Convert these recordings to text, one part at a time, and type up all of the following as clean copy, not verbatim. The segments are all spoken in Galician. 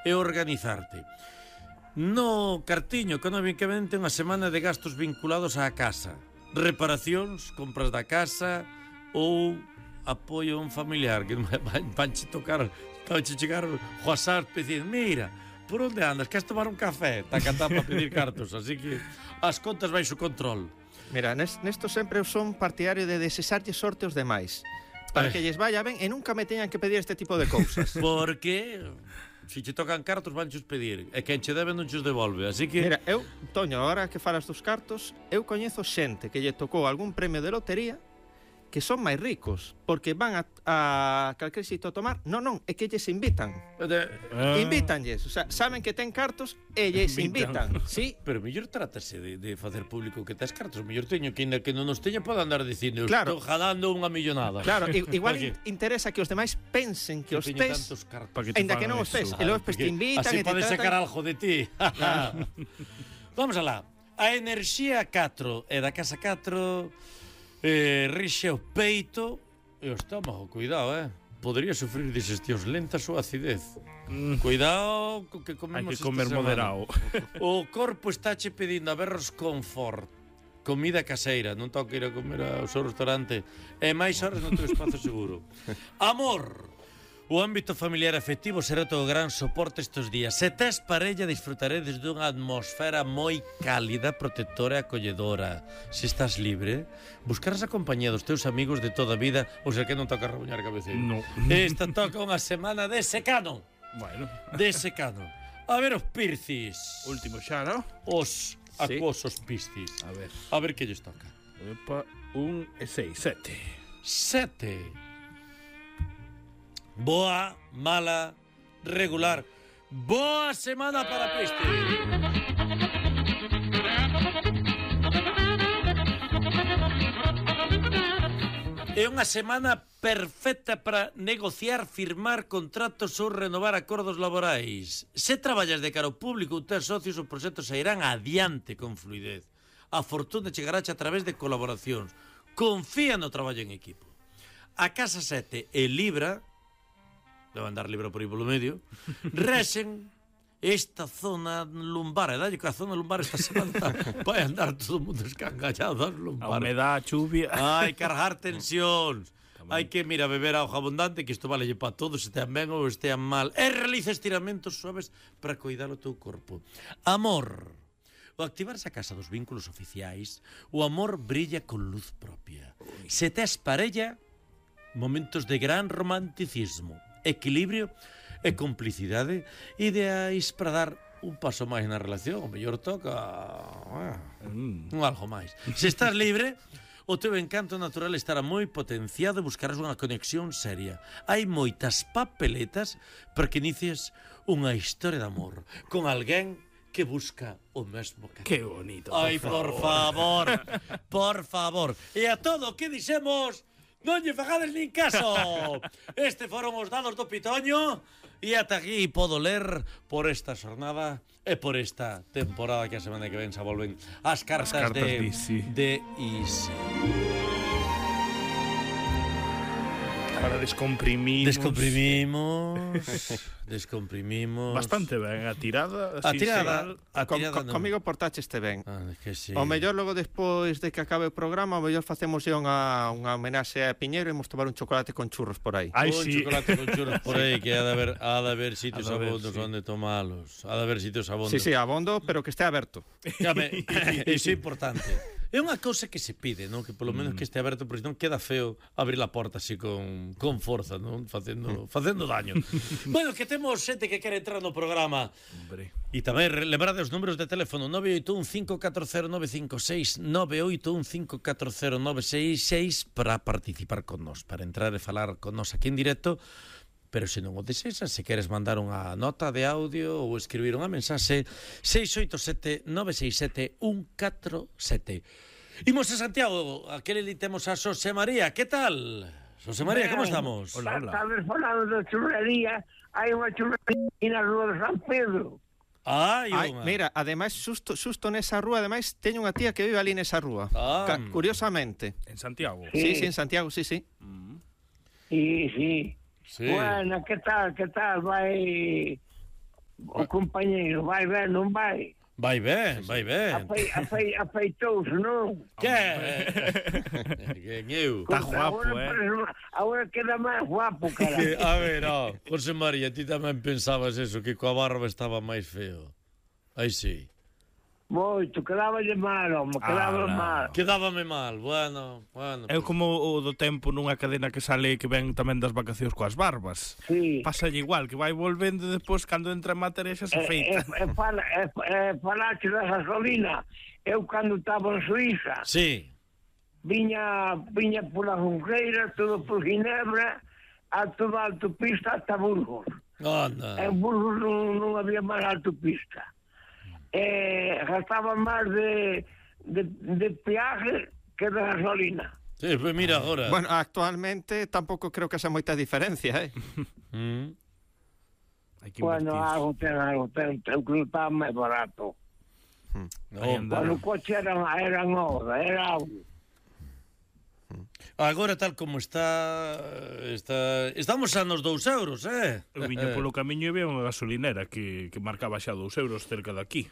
e organizarte. No cartiño económicamente unha semana de gastos vinculados á casa, reparacións, compras da casa ou apoio a un familiar que vanche tocar, vanche chegar o WhatsApp dicindo, mira, por onde andas? Queres tomar un café? Taca para pedir cartos, así que as contas baixo control. Mira, nesto sempre eu son partidario de desexarlle sorte aos demais para que lles vaya ben e nunca me teñan que pedir este tipo de cousas. Porque se che tocan cartos vanchos pedir e quen che debe non chos devolve, así que... Mira, eu, Toño, agora que falas dos cartos, eu coñezo xente que lle tocou algún premio de lotería que son máis ricos, porque van a calquer sitio a tomar. Non, é que lles invitan. Invítanlles, o sea, saben que ten cartos e lles invitan. Sí. Pero mellor trátase de facer público que tes cartos. Mellor teño que ainda que non nos teña pode andar dicindo, claro, estou jalando unha millonada. Claro, igual interesa que os demais pensen que os tes, ainda que non os tes, e logo te invitan así e te pode tratan... sacar algo de ti. Vamos alá. A enerxía 4 e da casa 4 rixe o peito e o estómago, cuidado, podría sufrir digestións lentas ou acidez. Cuidado co que comemos. Hai que comer moderado. O corpo está che pedindo a berros confort, comida caseira, non toca ir a comer ao seu restaurante e máis horas no teu espazo seguro. Amor. O ámbito familiar afectivo será o teu gran soporte estes días. Se tes parella, disfrutaredes dunha atmosfera moi cálida, protectora e acolledora. Se estás libre, buscarás a compañía dos teus amigos de toda a vida, ou sea que non toca rabuñar cabeceiro. No. Esta toca unha semana de secano. Bueno. De secano. A ver os Piscis. Último xa, ¿no? Os acuosos Piscis. A ver que lles toca. Opa, 1 e 6, 7. 7. Boa, mala, regular. Boa semana para Piscis. É unha semana perfecta para negociar, firmar contratos ou renovar acordos laborais. Se traballas de cara ao público ou tes socios, os proxectos sairán adiante con fluidez. A fortuna chegarache a través de colaboracións. Confía no traballo en equipo. A casa 7 e Libra, debe andar Libra por aí polo medio, rexen esta zona lumbar. E dalle que a zona lumbar esta semana vai andar todo o mundo escangallado das lumbares. A humedad, a chuvia. Hai cargar tensións. Hai que, mira, beber auga abundante, que isto valelle para todos, estean ben ou estean mal. E realiza estiramentos suaves para cuidar o teu corpo. Amor. Ao activarse a casa dos vínculos oficiais, o amor brilla con luz propia. Se tes parella, momentos de gran romanticismo, equilibrio e complicidade ideais para dar un paso máis na relación. O mellor toca un algo máis. Se estás libre, o teu encanto natural estará moi potenciado e buscarás unha conexión seria. Hai moitas papeletas para que inicies unha historia de amor con alguén que busca o mesmo que... Que bonito. Ai, por favor. Por favor. E a todo o que dixemos, non lle fagades nin caso. Este foron os dados do Pitoño e ata aquí podo ler por esta xornada e por esta temporada que a semana que ven se volven as cartas de Easy. Para descomprimimos. Descomprimimos. Bastante ben, a tirada. A tirada comigo portache este ben. Que sí. O mellor logo despois de que acabe o programa, o mellor facemos unha homenaxe a Piñeiro e imos tomar un chocolate con churros por aí. Un chocolate con churros por aí, que ha de haber sitios abondos onde tomalos. Ha de haber sitios abondos. Sí, abondo, pero que este aberto. Iso é importante. É unha cousa que se pide, non? Que polo menos que este aberto, porque non queda feo abrir a porta así con forza, non? Facendo daño. Bueno, que temos xente que quere entrar no programa. Hombre. E tamén lembrade os números de teléfono 981-540-956, 981-540-966 para participar con nós, para entrar e falar con nós aquí en directo. Pero se non o desexas, se queres mandar unha nota de audio ou escribir unha mensaxe, 687-967-147. Imos a Santiago, aquele li temos a Xosé María. Que tal? Xosé María, como estamos? Hola. Estamos falando de churrería. Hai unha churrería na rúa de San Pedro. Mira, ademais, xusto nesa rúa, ademais, teño unha tía que vive ali nesa rúa. Curiosamente. En Santiago? Sí, en Santiago, sí. Sí. Bueno, que tal? Vai o compañeiro, vai ben, non vai? Vai ben, vai ben. Afeitouse, non? Que? Que eu? Está guapo, Agora queda máis guapo, cara. A ver, José María, ti tamén pensabas eso, que coa barba estaba máis feo. Aí sí. Moito, quedáballe mal, home, quedaba mal. Quedábame mal, bueno. É como o do tempo nunha cadena que sale que ven tamén das vacacións coas barbas. Sí. Pásalle igual, que vai volvendo e depois cando entra en materia xa se feita. Falache da gasolina. Eu cando estaba en Suiza, Sí. viña pola Junqueira, todo por Ginebra, a toda a autopista ata Burgos. Anda. En Burgos non había máis autopista. Gastaba máis de peaje que de gasolina. Sí, pues mira agora. Bueno, actualmente tampouco creo que sea moita diferencia, Hai que Bueno, invertir. algo ten, eu creo que estaba máis barato. Hai andar. Bueno, o coche era novo, era audio. Agora tal como está estamos a nos 2 euros, Eu viña polo camiño e veo unha gasolinera que marcaba xa 2 euros cerca de aquí.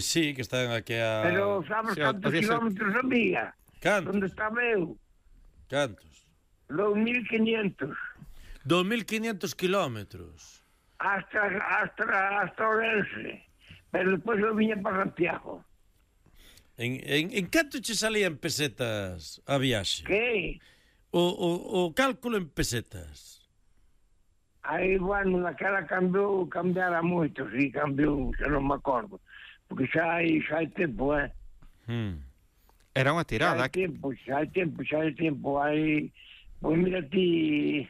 Sí, que están aquí a... Pero sabes Sí, cantos podía ser- kilómetros había? Cantos? Onde estaba eu? Cantos? 2.500. 2.500 kilómetros. Hasta Orense. Pero despois eu viña para Santiago. En canto che salían pesetas a viaxe? Que? O cálculo en pesetas. Aí, bueno, naquela cambiara moito, sí, cambiou, xa non me acordo. Porque xa hai tempo, Era unha Xa tirada. hai tempo. Aí, pois mira ti,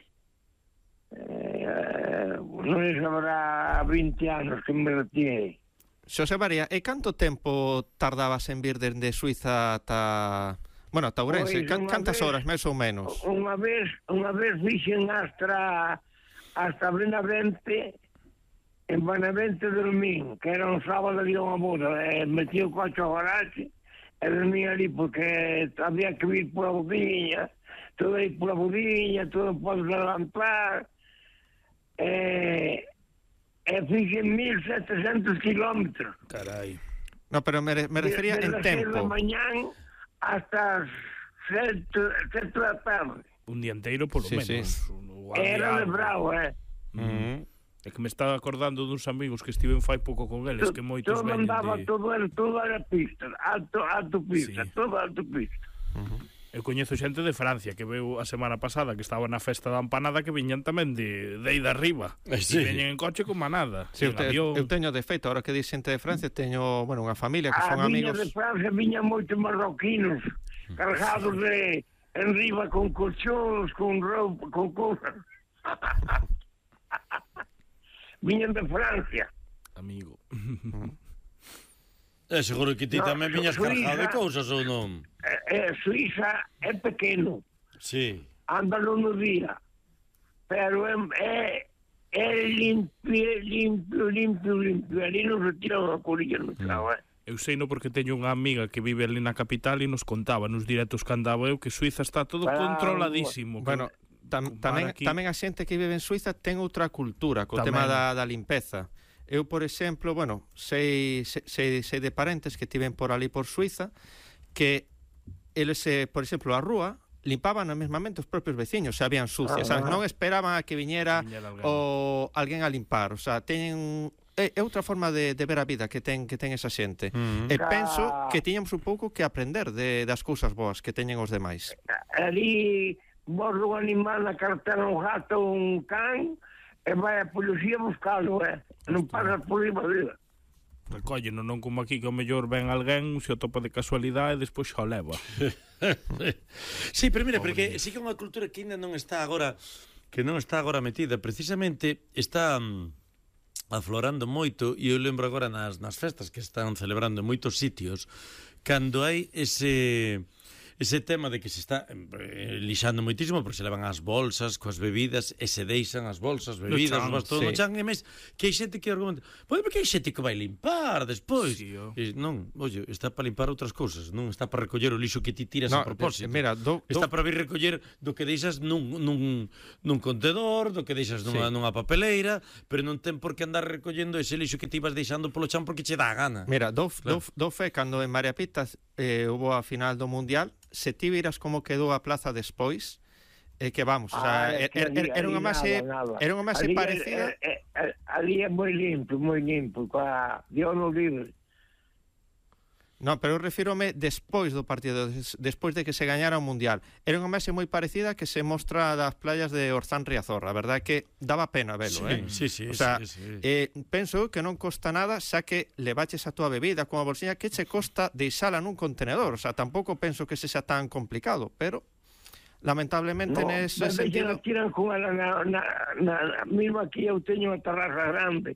non sabrá 20 anos que me retirei. Xosé María, e canto tempo tardabas en vir dende Suiza ata... Bueno, ata Ourense? Pois, unha Cantas vez- horas, máis ou menos? Unha vez fixen hasta Benavente, en Benavente dormín, que era un sábado de unha boda, metí o coche ao garaxe, e dormín ali porque había que vir pola bodiña, todo aí pola bodiña, todo podes levantar, e fixen 1.700 kilómetros. Carai. No, pero me refería Desde en as 6 da tempo. mañán hasta as 7 da tarde. Un día inteiro polo Sí, menos. Era de bravo, É que me estaba acordando duns amigos que estiven fai pouco con eles, que moitos todo veñen andaba, de... todo era pista, alto pista, Sí. todo alto pista. Eu coñezo xente de Francia que veu a semana pasada que estaba na festa da empanada que viñan tamén de aí de arriba. Sí. E veñen en coche como a nada. Sí, en avión. eu teño de feito, ahora que dis xente de Francia, teño, bueno, unha familia que son viña amigos. de Francia viñan moitos marroquinos, cargados de enriba con colchóns, con roupa, con cousas. Viñan de Francia. Amigo. Seguro que ti No, tamén viñas Suiza- cargado de cousas ou non? Suiza é pequeno, Sí. ándalo no día, pero é limpio. Ali non se tira unha corilla no chao, Eu sei no porque teño unha amiga que vive ali na capital e nos contaba nos directos que andaba eu que Suiza está todo Bravo. controladísimo. que- Bueno, tamén aquí- a xente que vive en Suiza ten outra cultura co Tamén. tema da limpeza. Eu, por exemplo, bueno, sei de parentes que tiven por ali por Suiza que eles, por exemplo, a rúa limpaban mesmamente os propios veciños, se habían sucias, sabes? Non esperaban a que viñera Viñera alguén. alguén a limpar, o sea, teñen é outra forma de ver a vida que ten esa xente. E penso que tiñamos un pouco que aprender das cousas boas que teñen os demais. Ali morre un animal na cartera, un gato, un can, e vai a policía buscalo, non pasa por riba dela. Recólleno, non como aquí que o mellor ven alguén, se o topa de casualidade e despois xa o leva. Sí, pero mira, porque sí que é unha cultura que ainda non está agora metida, precisamente está aflorando moito, e eu lembro agora nas festas que están celebrando en moitos sitios, cando hai ese tema de que se está lixando moitísimo porque se levan as bolsas coas bebidas e se deixan as bolsas, bebidas, os bastón no chan, e mes que hai xente que argumenta, pois porque hai xente que vai limpar despois. Sí, non, oye, está para limpar outras cousas, non está para recoller o lixo que ti tiras a propósito. Mira, está para vir recoller do que deixas nun contedor, do que deixas nunha papeleira, pero non ten por que andar recollendo ese lixo que ti vas deixando polo chan porque che dá a gana. Mira, do fe cando en María Pita hubo a final do Mundial, se ti viras como quedou a plaza despois, que vamos, o sea, era unha máis parecida. Ali é moi limpo, coa Dios no libre. No, pero eu refírome despois do partido, despois de que se gañara o Mundial. Era unha imaxe moi parecida que se mostra das playas de Orzán Riazor. A verdade é que daba pena velo, Sí. O sea, penso que non costa nada, xa que levaches a túa bebida con a bolsiña, que che costa deixala nun contenedor. O sea, tampouco penso que sexa tan complicado, pero lamentablemente nese sentido... Tiran con ela mismo aquí eu teño unha terraza grande,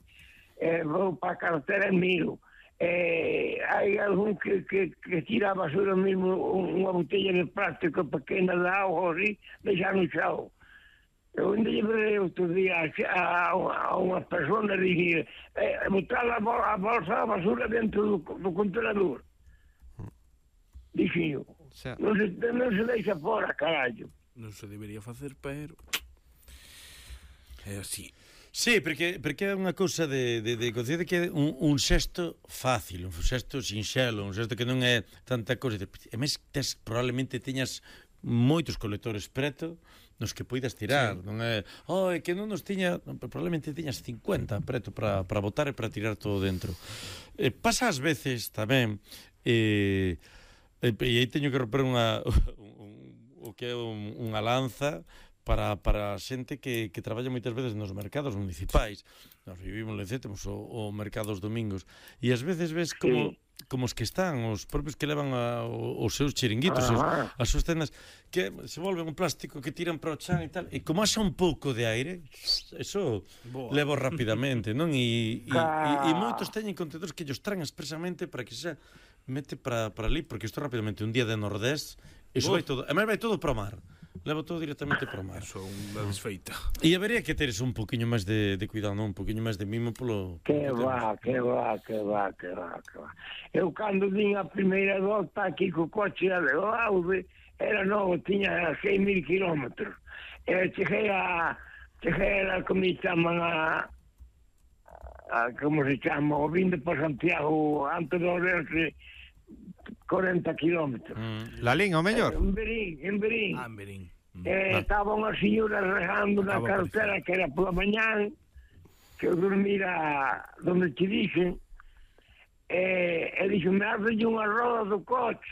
vou para a carretera e miro. Hai algún que tira a basura mesmo unha botella de plástico pequena de auga así, deixa no chão. Eu ainda llevei outro día a unha persona e dixi botar a bolsa da basura dentro do contenedor. Dixi eu, non se deixa fora, carallo. Non se debería facer, pero é así. Sí, porque é unha cousa de conciencia que é un xesto fácil, un xesto sinxelo, un xesto que non é tanta cousa. E mes probablemente teñas moitos colectores preto nos que poidas tirar, non é que non nos tiña, probablemente tiñas 50 preto para botar e para tirar todo dentro. Pasa ás veces tamén, e aí teño que romper o que é unha lanza para a xente que traballa moitas veces nos mercados municipais. Nos vivimos en Lencete, temos o mercado os domingos, e ás veces ves como os que están, os propios que levan os seus chiringuitos, as súas tendas, que se volven un plástico que tiran para o chan e tal, e como haxa un pouco de aire, eso levo rapidamente, non? E moitos teñen contenedores que ellos traen expresamente para que se mete para ali, porque isto rapidamente, un día de Nordés, iso vai todo, vai todo para o mar. Levo todo directamente para o mar. Eso é unha desfeita. E habería que teres un poquinho máis de cuidado, non? Un poquinho máis de mimo polo... Que va. Eu cando vin a primeira volta aquí co coche a Aude, era novo, tiña 6.000 kilómetros. Cheguei a como se chaman como se chama, o vinde para Santiago antes de Orense 40 kilómetros. La Linha, o mellor? En Berín. En Berín. Estaba unha señora regando na carretera que era pola mañán, que eu dormira donde te dixen, e dixo-me, arde unha roda do coche,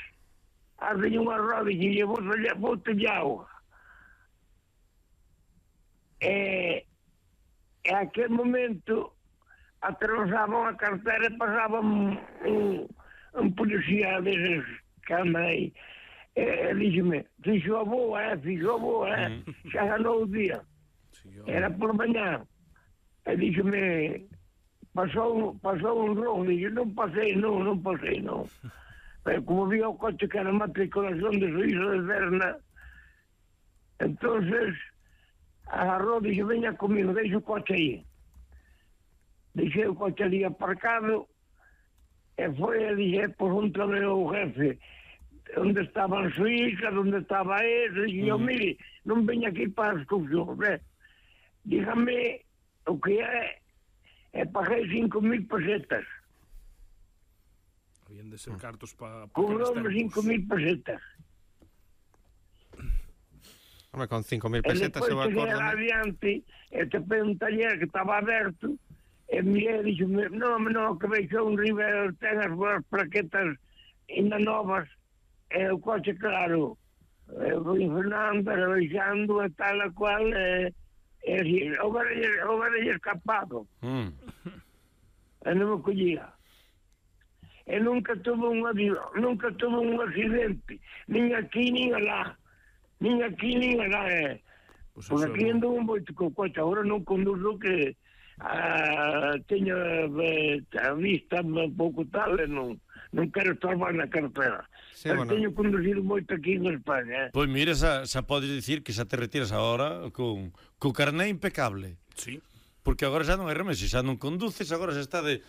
arde unha roda, e bote de auga. E aquel momento atravesaban a carretera e pasaban un policía deses que anda aí. Díxeme, fixo a boa, xa ganou o día. Era por mañá. E díxeme, pasou un rojo, dixo, non pasei. Pero como vi o coche que era matriculación de Suizo de Berna, entonces agarrou, dixo, veña comigo, deixo o coche aí. Deixei o coche ali aparcado, e foi e dije, pregúntame o jefe onde estaba en Suiza, onde estaba ese, e eu, mire, non veña aquí para as excursións, dígame o que é, e paguei 5.000 pesetas. Habían de ser cartos para... Cobrou-me 5.000 pesetas. Hombre, con 5.000 pesetas eu acordo... E depois cheguei adiante, e te pedi un taller que estaba aberto, e mirei e dixo, non, que veixo un River, ten as boas plaquetas ainda novas, e o coche, claro, vou Fernando, baixando e tal a cual, e así, o varelle escapado. E non me collía. E nunca tuve un accidente, nin aquí, nin alá. Por aquí ando un moito co coche, agora non conduzo que teño a vista un pouco tal, e non quero estorbar na carretera. Sí, bueno. Teño conducido moito aquí en España. Pois mira, xa podes dicir que xa te retiras agora co carné impecable. Sí. Porque agora xa non hai remedio, xa non conduces, agora xa está de...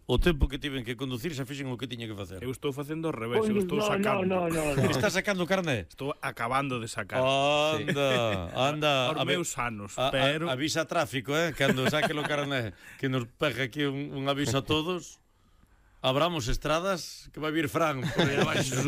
o tempo que tiven que conducir xa fixen o que tiña que facer. Eu estou facendo ao revés, eu estou sacando. No. Está sacando o carné? Estou acabando de sacar. Anda. Aos meus anos, pero... Avisa tráfico, cando saque o carné, que nos pegue aquí un aviso a todos. Abramos estradas, que vai vir Fran por aí abaixo.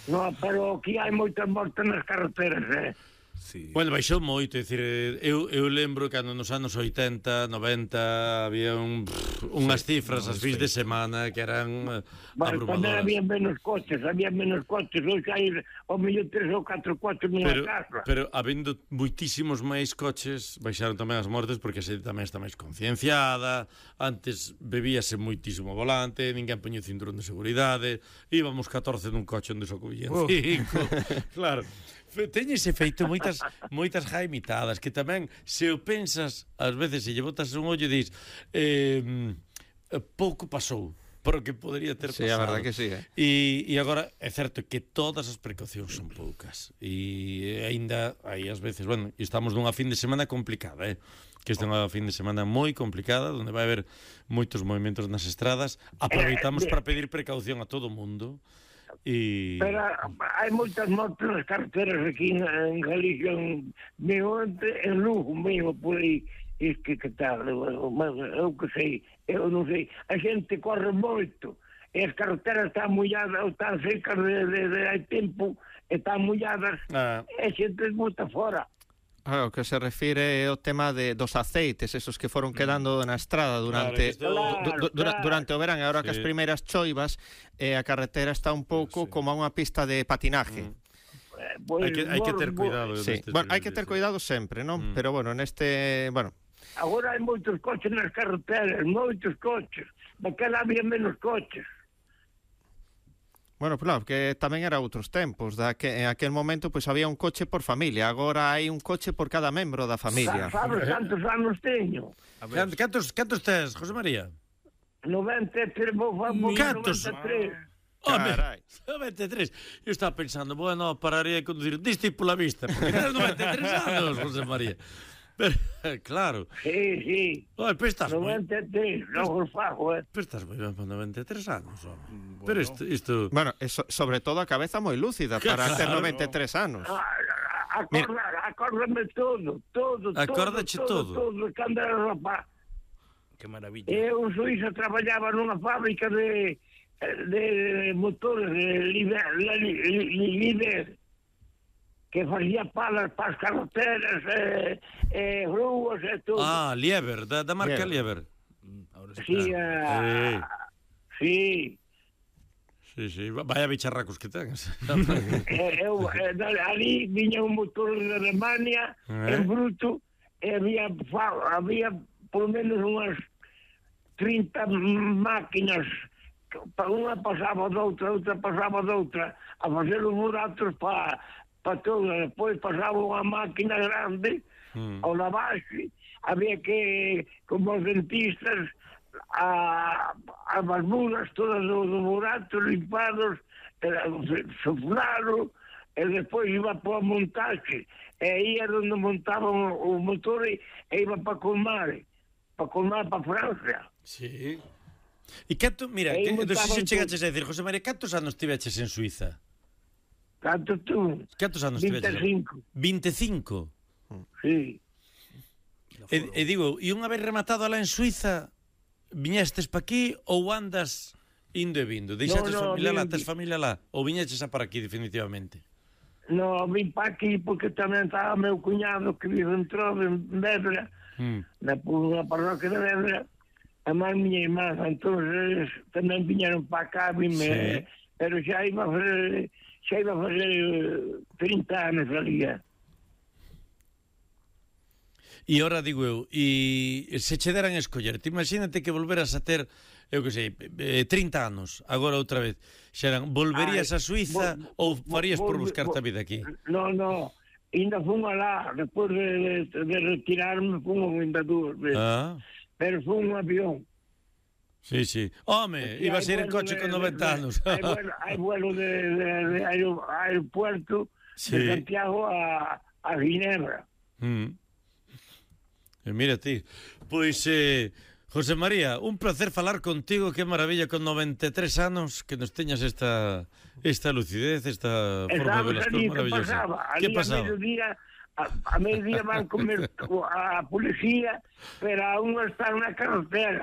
No, pero aquí hai moitas mortes nas carreteras, Sí. Bueno, baixou moito, é dicir, eu lembro cando nos anos 80, 90 había unhas cifras as fins de semana que eran Bueno, tamén abrumadoras. había menos coches, hoxe hai ao mellor 3 ou 4 coches nunha casa. Pero habendo moitísimos máis coches, baixaron tamén as mortes porque a xente tamén está máis concienciada. Antes bebíase moitísimo ao volante, ninguén poñía o cinturón de seguridade, íbamos 14 nun coche onde só cubían 5. Claro. Teñe ese feito moitas jaimitadas que tamén, se o pensas, ás veces se lle botas un ollo e dis pouco pasou porque podería ter pasado. Sí, a verdade que sí, E agora é certo que todas as precaucións son poucas e aínda hai ás veces, bueno, estamos nunha fin de semana complicada, que esta é unha fin de semana moi complicada onde vai haber moitos movimentos nas estradas. Aproveitamos para pedir precaución a todo o mundo. Pero hai moitas mortes nas carreteras aquí en Galicia, en Lugo mesmo, por aí. Que tal, eu que sei, eu non sei. A xente corre moito, e as carreteras están molladas, están secas de hai tempo, están molladas, e a xente bota fora. O que se refire ao tema dos aceites, esos que foron quedando na estrada durante durante o verán, e agora que as primeiras choivas, a carretera está un pouco como unha pista de patinaje. Hai que ter cuidado. Sí. Bueno, hai que ter cuidado sempre, non? Pero bueno, Agora hai moitos coches nas carreteras, moitos coches. Daquela había menos coches. Bueno, claro, que tamén era outros tempos, en aquel momento pois había un coche por familia, agora hai un coche por cada membro da familia. Sabes cantos anos teño? Cantos tes, José María? 93, Cantos? 93. Carai. 93. Eu estaba pensando, bueno, pararía de conducir disto e pola vista, porque tens 93 anos, José María. Pero, claro. Sí. Pero estás 93, non os fago, Pero estás moi ben para 93 anos, home. Pero isto... Bueno, sobre todo a cabeza moi lúcida para ter 93 anos. Acórdame todo. Acórdache todo. Cando era rapaz. Que maravilla. Eu en Suiza traballaba nunha fábrica de motores de líder, que facía palas para as carreteras, rúas e todo. Lieber, da marca Lieber. Sí. Sí, vaya bicharracos que tens. Ali viña un motor de Alemania, en bruto, e había por menos unhas 30 máquinas, unha pasaba doutra, outra pasaba doutra, a facer os buratos para todo. Depois pasaba unha máquina grande ao lavaxe, había que, como os dentistas, as mulas todas dos buratos limpados, soflaro, e despois iba para a montaxe, e aí era onde montaban o motor e iba para colmar para Francia. Sí. E canto, mira, non sei se chegaches a decir, José María, cantos anos tiveches en Suiza? Canto tú? Cantos anos tiveches? 25. 25? Sí. E digo, e unha vez rematado alá en Suiza, viñestes pa aquí ou andas indo e vindo? Deixaches familia lá, tes familia lá? Ou viñeches a para aquí definitivamente? No, vim pa aquí porque tamén estaba meu cuñado que vive en Trove, en Vedra, na parroquia de Vedra, a máis miña irmã, entonces tamén viñeron pa cá, vime, pero xa iba a fazer 30 anos ali. E ora digo eu, e se che deran a escoller, te imagínate que volveras a ter, eu que sei, 30 anos, agora outra vez, xeran, volverías a Suiza ou farías por buscarte a vida aquí? No, ainda fun alá, despois de retirarme, fun ainda 2 veces, pero fun un avión. Sí, sí. Home, ibas a ir en coche con 90 anos. Hai vuelo de aeropuerto de Santiago a Ginebra. Mira ti. Pois, José María, un placer falar contigo. Que maravilla con 93 anos que nos teñas esta lucidez, esta forma de ver as cousas maravillosa. Que pasaba? A mediodía van comer a policía, pero a uno está na carretera.